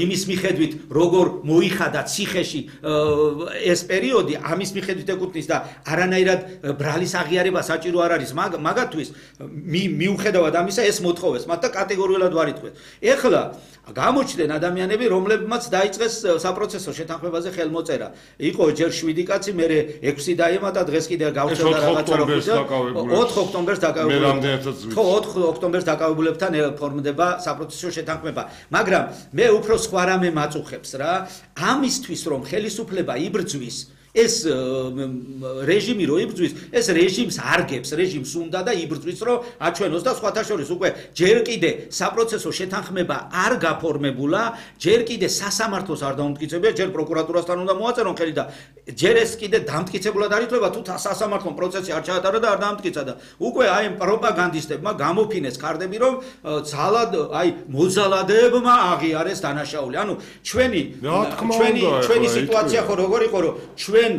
იმის მიხედვით როგორ მოიხადა ციხეში ეს პერიოდი ამის მიხედვით ეკუთვნის და არანაირად ბრალის აღიარება საჭირო არ არის მაგათთვის მიუხედავად ამისა ეს მოთხოვეს მათ და კატეგორიულად ვარიტყვეთ ეხლა გამოჩნდნენ ადამიანები რომლებმაც დაიწყეს საპროცესო შეთანხმებაზე ხელმოწერა იყო ჯერ 7 კაცი მერე 6 დაემატა დღეს კიდე გავწევდა რაღაცა რა 4 ოქტომბერს დაკავებულებთან 4 ოქტომბერს დაკავებულებთან ფორმდება საპროცესო შეთანხმება მაგრამ მე უფრო სხვა რამე მაწუხებს რა ამისთვის რომ ხელისუფლება იბრძვის ეს რეჟიმი რო იბრძვის ეს რეჟიმს არგებს რეჟიმს უნდა და იბრძვის რომ აჩვენოს და სხვათა შორის უკვე ჯერ კიდე საპროცესო შეთანხმება არ გაფორმებულა ჯერ კიდე სასამართლოს არ დაუმტკიცებია ჯერ პროკურატურასთან უნდა მოაწერონ ხელი და ჯერ ეს კიდე დამტკიცებულად არ ითვლება თუ სასამართლო პროცესი არ ჩაატარა და არ დაამტკიცა და უკვე აი ამ პროპაგანდისტებმა გამოფინეს კარდები რომ ძალად აი მოძალადეებმა აღიარეს დანაშაული ანუ ჩვენი სიტუაცია ხო როგორ იყო რომ ჩვენ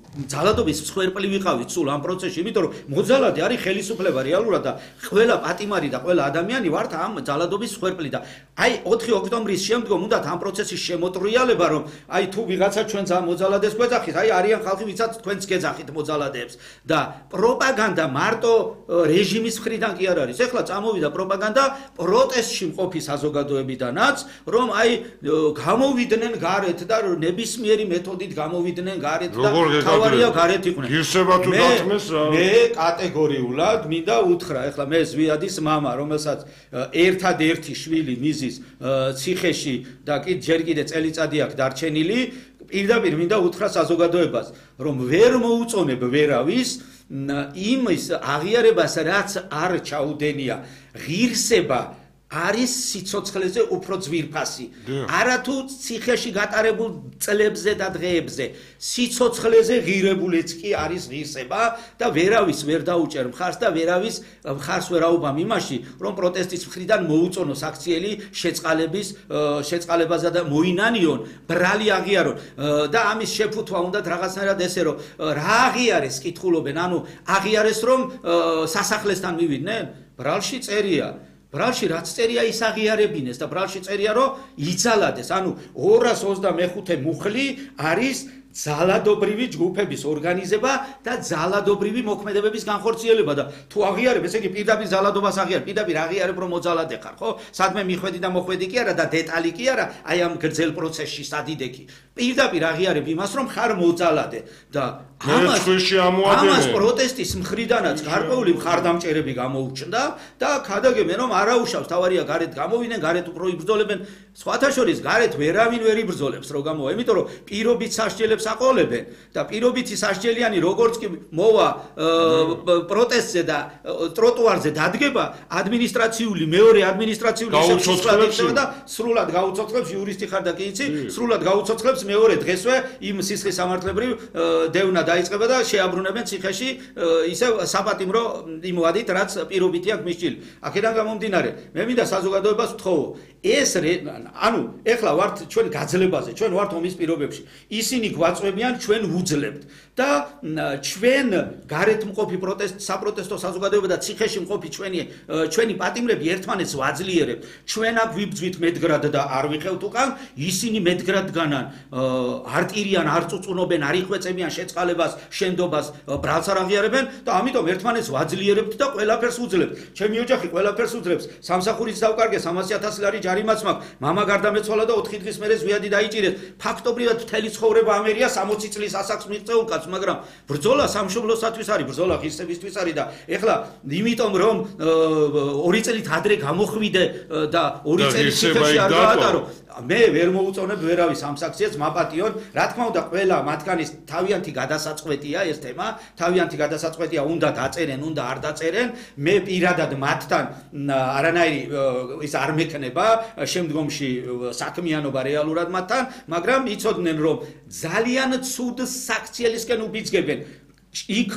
ძალადობის მსხვერპლი ვიყავით სულ ამ პროცესში, იმიტომ რომ მოძალადე არის ხელისუფლება რეალურად და ყველა პატიმარი და ყველა ადამიანი ვართ ამ ძალადობის მსხვერპლი და აი 4 ოქტომბრის შემდგომ უნდათ ამ პროცესის შემოტრიალება რომ აი თუ ვიღაცა ჩვენს ამ მოძალადეს გვეძახით, აი არიან ხალხი ვისაც თქვენს გეძახით მოძალადეებს და პროპაგანდა მარტო რეჟიმის მხრიდან კი არ არის. ეხლა წამოვიდა პროპაგანდა პროტესტში მყოფი საზოგადოებიდანაც, რომ აი გამოვიდნენ გარეთ და ნებისმიერი მეთოდით გამოვიდნენ გარეთ და თავარია გარეთ იყვნენ. გირსება თუ დათმეს მე კატეგორიულად მინდა უთხრა, ეხლა მე ზვიადის მამა, რომელსაც ერთადერთი შვილი მიზის ციხეში და ჯერ კიდე წელიწადი აქვს დარჩენილი, პირდაპირ მინდა უთხრა საზოგადოებას, რომ ვერ მოუწონებ ვერავის იმის აღიარებას, რაც არ ჩაუდენია ღირსება არის სიცოცხლეზე უფრო ძვირფასი. არათუ ციხეში გატარებულ წლებზე და დღეებზე, სიცოცხლეზე ღირებულიც კი არის ღირსება და ვერავის ვერ დაუჭერ მხარს და ვერავის მხარს ვერ აუბამ იმაში, რომ პროტესტის მხრიდან მოუწონოს აქციელი შეწყალებაზე და მოინანიონ, ბრალი აღიარონ და ამის შეფუთვა უნდათ რაღაცნაირად ესე რომ რა აღიარეს კითხულობენ, ანუ აღიარეს რომ სასახლესთან მივიდნენ, ბრალში წერია ბრალში რაც წერია ის აღიარებინეს და ბრალში წერია რომ იძალადეს ანუ 225 მუხლი არის ძალადობრივი ჯგუფების ორგანიზება და ძალადობრივი მოქმედებების განხორციელება და თუ აღიარებ ესე იგი პირდაპირ ძალადობას აღიარებ პირდაპირ აღიარებ რომ მოძალადე ხარ ხო სადმე მიხვედი და მოხვედი კი არა და დეტალი კი არა აი ამ გრძელ პროცესში სადიდექი პირდაპირ აღიარებ იმას რომ ხარ მოძალადე და ამას პროტესტის მხრიდანაც გარკვეული მხარდამჭერები გამოუჩნდა და ქადაგებენ რომ არაუშავს თავარია გარეთ გამოვიდნენ გარეთ უფრო იბრძოლებენ სხვათა შორის გარეთ ვერავინ ვერ იბრძოლებს რო გამოვა იმიტომ რომ პირობით სასჯელებს აყოლებენ და პირობითი სასჯელიანი როგორც კი მოვა პროტესტზე და ტროტუარზე დადგება ადმინისტრაციული მეორე ადმინისტრაციული სისტემა და სრულად გაუცოცხლებს იურისტი ხარ და კი იცი სრულად გაუცოცხლებს მეორე დღესვე იმ სისხლის სამართლებრივ დევნა დაიწყება და შეაბრუნებენ ციხეში ისევ საპატიმრო იმვადით რაც პირობითი აქვს მისჭილი აქედან გამომდინარე მე მინდა საზოგადოებას ვთხოვო ეს ანუ ეხლა ვართ ჩვენ გაძლებაზე ჩვენ ვართ ომის პირობებში ისინი გვაწვევიან ჩვენ ვუძლებთ და ჩვენ გარეთ მყოფი საპროტესტო საზოგადოება და ციხეში მყოფი ჩვენი პატიმრები ერთმანეთს ვაძლიერებთ ჩვენ აქ ვიბძვით მედგრად და არ ვიყევთ უკან ისინი მედგრად განან არ ტირიან არ წუწუნობენ არ იხვეწებიან შეწყალებას შენდობას ბრალს არ აღიარებენ და ამიტომ ერთმანეთს ვაძლიერებთ და ყველაფერს ვუძლებთ ჩემი ოჯახი ყველაფერს უძლებს სამსახურიც დავკარგე 300,000 ლარი ჯარიმაც მაქვს მამაგარდამეცვალა და 4 დღის მერე ზვიადი დაიჭირეს ფაქტობრივად მთელი ცხოვრება ამერია 60 წლის ასაკს მიღწეულ კაცს მაგრამ ბრძოლა სამშობლოსათვის არის ბრძოლა ღირსებისთვის არის და ეხლა იმიტომ რომ 2 წლით ადრე გამოხვიდე და 2 წელი ციხეში არ გაატარო მე ვერ მოუწონებ ვერავის ამ საქციელს მაპატიონ რა თქმა უნდა ყველა მათგანის თავიანთი გადასაწყვეტია ეს თემა თავიანთი გადასაწყვეტია უნდა დაწერენ უნდა არ დაწერენ მე პირადად მათთან არანაირი ის არ მექნება შემდგომში საქმიანობა რეალურად მათთან მაგრამ იცოდნენ რომ ძალიან ცუდ საქციელისკენ უბიძგებენ იქ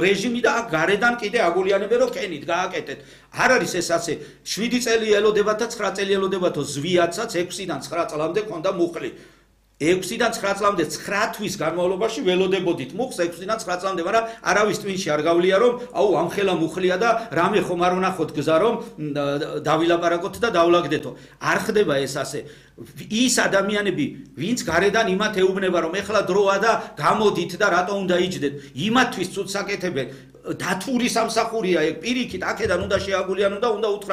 რეჟიმი და გარედან კიდე აგულიანებენ რომ კენით გააკეთეთ არ არის ეს ასე 7 წელი ელოდებათ და 9 წელი ელოდებათო ზვიაცაც 6-დან 9 წლამდე ქონდა მუხლი 6-დან 9 წლამდე 9 თვის განმავლობაში ველოდებოდით მუხს 6-დან 9 წლამდე, მაგრამ არავის ტვინში არ გავლია რომ აუ ამხელა მუხლია და რამე ხომ არ ვნახოთ გზა რომ დავილაპარაკოთ და დავლაგდეთო. არ ხდება ეს ასე. ის ადამიანები, ვინც გარედან იმათ ეუბნება რომ ეხლა დროა და გამოდით და რატო უნდა იჯდეთ, იმათთვის ცუდს აკეთებენ. დათური სამსახურია ეგ პირიქით, აქედან უნდა შეაგულიან და უნდა უთხრა